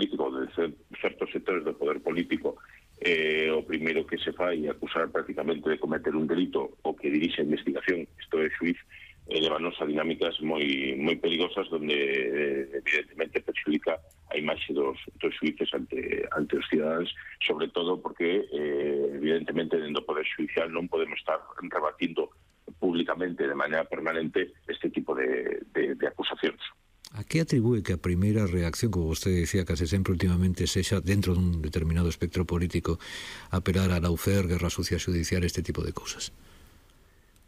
político, de certos sectores do poder político, o primeiro que se fai é acusar prácticamente de cometer un delito o que dirixe a investigación, isto é xuiz, levanos a dinámicas moi perigosas donde evidentemente perxudica a imaxe dos xuíces ante os cidadáns, sobre todo porque evidentemente dentro do Poder Judicial non podemos estar rebatindo públicamente de maneira permanente este tipo de acusacións. A que atribúe que a primeira reacción, como vostede decía, case sempre últimamente sexa dentro dun determinado espectro político apelar a lawfare, guerra sucia xudicial, este tipo de cousas?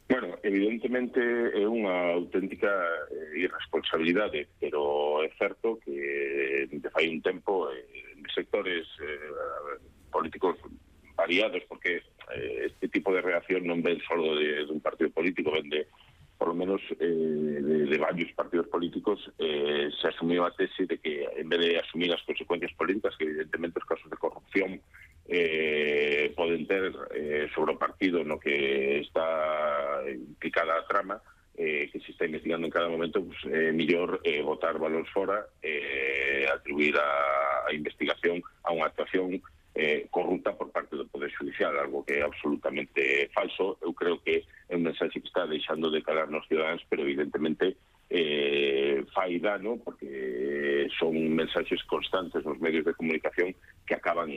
Bueno, evidentemente é unha auténtica irresponsabilidade, pero é certo que de fai un tempo en sectores políticos variados, porque este tipo de reacción non ven só dun partido político, ven de, por lo menos, de varios partidos políticos. Se asumiu a tese de que, en vez de asumir as consecuencias políticas, que evidentemente os casos de corrupción poden ter sobre o partido no que está implicada a trama, que se está investigando en cada momento, pues, mellor botar balóns fora, atribuir a investigación a unha actuación corrupta por parte do Poder Judicial, algo que é absolutamente falso. Eu creo que é un mensaxe que está deixando de calar nos cidadáns, pero evidentemente fai dano, porque son mensaxes constantes nos medios de comunicación que acaban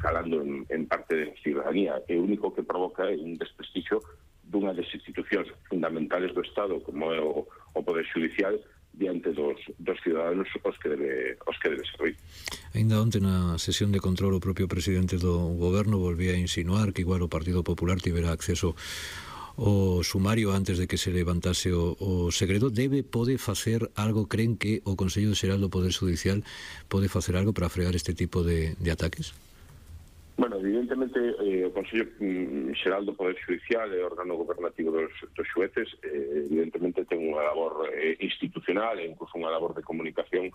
calando en parte da ciudadanía. O único que provoca é un desprestixio dunha das institucións fundamentales do Estado, como é o Poder Judicial, diante dos ciudadanos os que debe servir. Ainda onte na sesión de control o propio presidente do goberno volvía a insinuar que igual o Partido Popular tivera acceso o sumario antes de que se levantase o segredo. Pode facer algo? Creen que o Consello Xeral do Poder Judicial pode facer algo para frear este tipo de ataques? Bueno, evidentemente o Consello Xeral do Poder Judicial é o órgano gobernativo dos xueces, evidentemente ten unha labor institucional e incluso unha labor de comunicación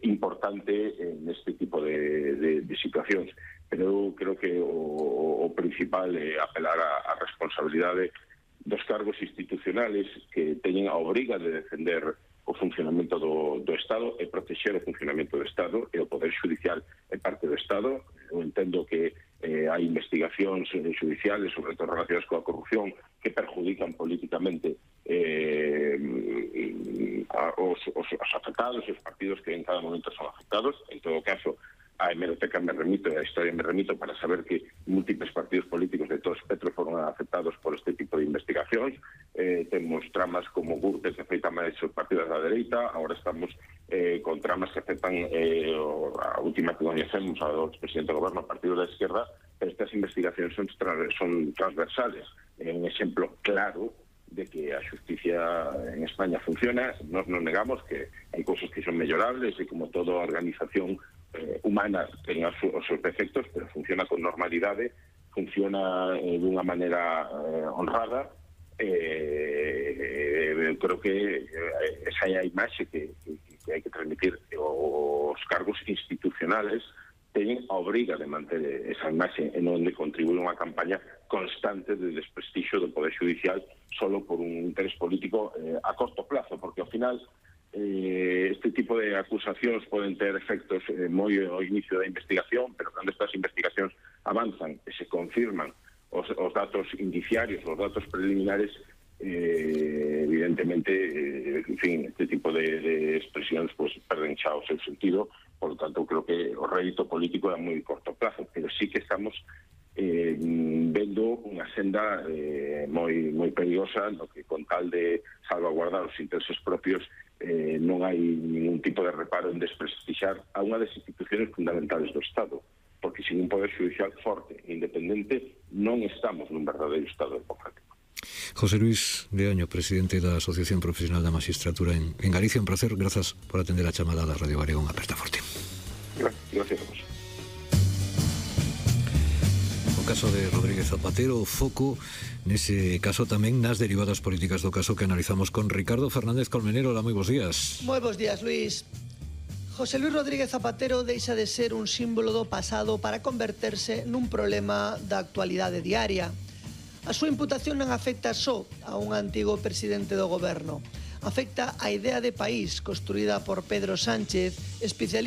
importante neste tipo de situacións, pero eu creo que o principal é apelar á responsabilidade dos cargos institucionales que teñen a obriga de defender o funcionamento do Estado e protexer o funcionamento do Estado, e o Poder Judicial é parte do Estado. Eu entendo que hai investigacións judiciales, sobre todo relacionadas coa corrupción, que perjudican políticamente os afectados e os partidos que en cada momento son afectados. En todo caso, a hemeroteca me remito e a historia me remito para saber que múltiples partidos políticos de todo espectro foron afectados por este tipo de investigacións. Temos tramas como Gürtel que afectan máis os partidos da dereita, agora estamos con tramas que afectan a última que conhecemos ao presidente do goberno, ao partido da esquerda, pero estas investigacións son transversales. É un exemplo claro de que a justicia en España funciona. Nos non negamos que hai cousas que son mellorables e como toda organización humana ten os seus defectos, pero funciona con normalidade, funciona dunha maneira honrada. Creo que esa é a imaxe que hai que transmitir. Os cargos institucionales teñen a obriga de manter esa imaxe e non de contribuir a unha campaña constante de desprestixio do Poder Judicial solo por un interés político a corto plazo, porque ao final este tipo de acusacións poden ter efectos moi ao inicio da investigación, pero cando estas investigacións avanzan e se confirman os datos indiciarios, os datos preliminares, evidentemente, en fin, este tipo de expresións pues perden xa o seu sentido. Por lo tanto, creo que o rédito político é a moi corto plazo, pero sí que estamos vendo unha senda moi perigosa, no que con tal de salvaguardar os intereses propios non hai ningún tipo de reparo en desprestixar a unha das instituciones fundamentales do Estado, porque sin un Poder Judicial forte e independente non estamos nun verdadeiro Estado democrático. José Luis Leaño, presidente da Asociación Profesional da Magistratura en Galicia, un placer, grazas por atender a chamada da Radio Galega, unha aperta forte. Gracias a vos. O caso de Rodríguez Zapatero, o foco nese caso tamén nas derivadas políticas do caso que analizamos con Ricardo Fernández Colmenero. Hola, moi bons días. Moi bons días, Luis. José Luis Rodríguez Zapatero deixa de ser un símbolo do pasado para converterse nun problema da actualidade diaria. A súa imputación non afecta só a un antigo presidente do goberno, afecta a idea de país construída por Pedro Sánchez, especialista